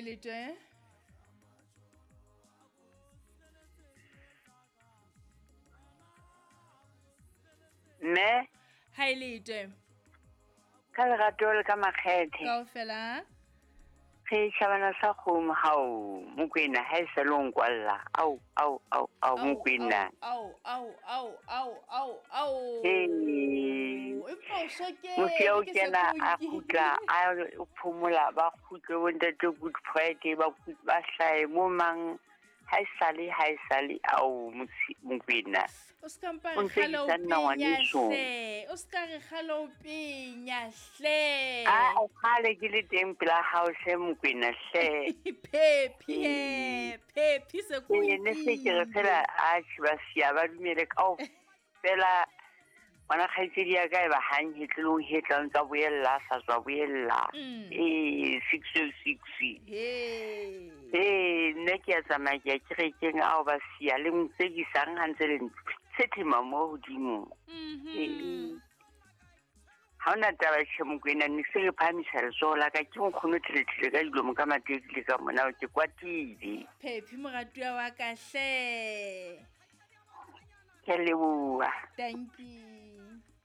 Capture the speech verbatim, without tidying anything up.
Haeletwe. Mme Haeletwe. Ka lerato le ka makgethe. Kaofela. Re shabana sa kgomo hao Mokwena ha e sa le o nkwalla. Au au au au Mokwena. Au au au au au au. Ee. Empa o soke. Mosiya o kena a kgutla a phomola ba kgutle bo ntate Good Friday ba ba hlae mo mang ha e sale ha e sale au Mokwena. O ska mpa re kgale o penya hle. O ska re kgale o penya hle. A o kgale ke le teng pela hao hle Mokwena hle. Phephi he, phephi se go. Ne se ke re fela a ba siya ba dumele kao fela ngwana kgaitsedi ya ka e ba hang hetlelong hetlang tsa boella sa tswa boella. Eh six oh six. He. Eh nne ke a tsamaya ke ya kerekeng ao ba siya le ntsekisang ha ntse le tshethema mo hodimo. Mhm. Ha ona taba tjhe Mokwena ne se re phahamisa letsoho la ka ke nkgono thelethele ka dilomo ka mateki ka mona ke kwatile. Phephi moratuwa wa ka hle. Ke leboha. Thank you.